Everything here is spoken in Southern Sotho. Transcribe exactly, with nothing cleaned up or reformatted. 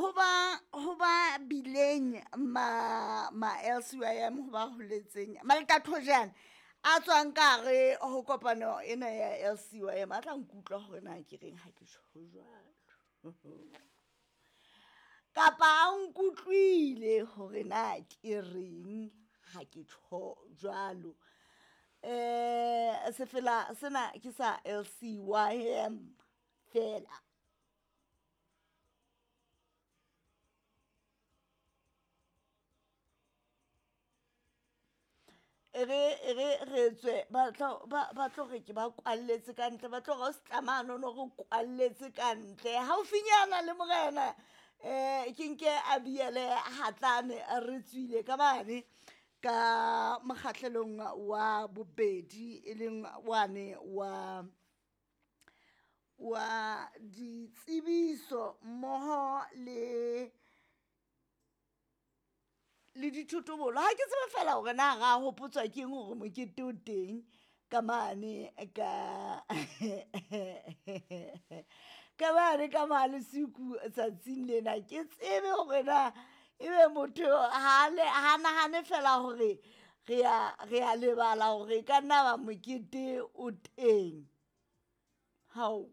Ho ba ho ba bileng ma ma L C Y M ho ba holetseng Malekathojana a tswang ka hare ho kopano ena ya L C Y M a tla nkutlwa hore na ke reng ha ke tjho jwalo. Kapa a nkutlwile hore na ke reng ha ke tjho jwalo. Eh sefela sena ke sa L C Y M fela. E re e re re tswe ba tlo ba ba tlo re ke ba kwalletse ka ntle, ba tlo re o se tlamano no re kwalletse ka ntle. Haufinyana le morena eh ke nke a biele hatlane re tswile ka mane ka mokgahlelong wa bobedi e leng wane wa wa ditsebiso mmoho le le dithotobolo. Ha ke tsebe feela hore na ra hopotswa ke eng hore mokete o teng ka mane ka ka mane ka Malesiko tsatsing lena. Ke tsebe hore na ebe motho ha le ha nahane feela hore re a re a lebala hore e ka nna ba mokete o teng. Hao.